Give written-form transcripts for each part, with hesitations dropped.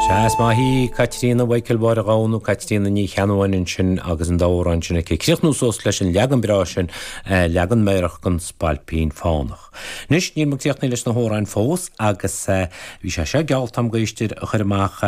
Sea, is maith í Caitríona Mhichael Mháire Ghabha nó Caitríona Ní Cheannabháin ansin agus an dá amhrán sin aici. Críochnú suas leis an leagan breá sin, leagan meidhreach den Spailpín Fánach. Anois, níl muid críochnaithe leis na hamhráin fós agus bhí sé seo geallta agam d'éisteoirí a chur amach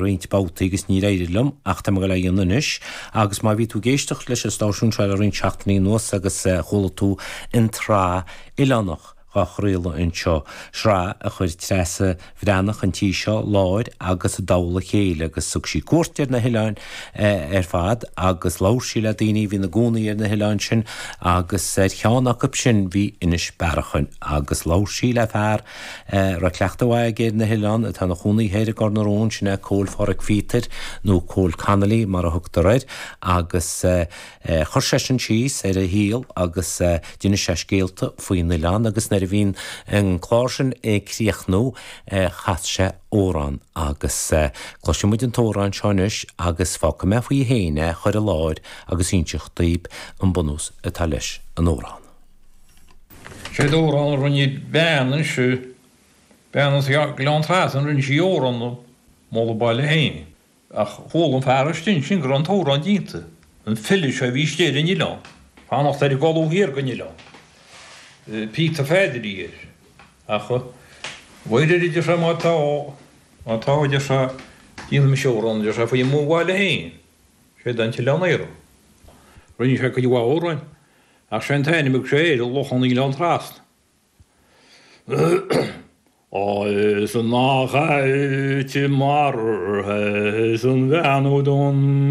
roinnt babhtaí agus níor éirigh liom ach tá mé ag dul é a dhéanamh anois agus má bhí tú ag éisteacht leis an stáisiún seo le roinnt seachtainí anuas agus chuala tú an tsraith oileánach dhá chraoladh anseo, sraith a chuir Treasa Bhreathnach an tí seo láir agus i dtoll a chéile agus thug sí cuairt ar na hoileáin ar fad agus labhair sí le daoine a bhí ina gcónaí ar na hoileáin sin agus ar cheann acu sin bhí Inis Bearachain agus labhair sí le fear a raibh cleachtadh mhaith aige ar na hoileáin atá ina chónaí thoir i gCor na Rón, sin é Cóil Pháraic Phíotair nó Cóil Connolly mar a thugtar air agus. Chuir seisean síos ar a shaol agus d'inis sé scéalta faoin oileán agus nuair a bhí an clár sin ag críochnú chas sé amhrán agus cloisfidh muid an t-amhrán seo anois agus fágfaidh mé faoi féin é a chur i láthair agus inseacht daoibh an bunús atá leis an amhrán. Sé amhrán a rinne bean anseo, bean as Gleann Trasna, rinne sí amhrán ag moladh a baile féin. Ach chuala an fear istigh ansin go raibh an t-amhrán déanta, an file seo a bhí istigh ar an oileán, fanacht ar an gcolbha thiar den oileán. Peter Pheaidí a bhí air. Ach mhuire, a deir sé, má tá, má tá, a deir sé, déanfaidh mise amhrán, a deir sé, faoi mo bhaile féin. Sé an tOileán Aorach. Rinne sé cuid mhaith amhráin, ach sé an t-ainm a thug sé air, Lochán na nGleann Trasna. Is nach ait marbhtha is an bhean donn.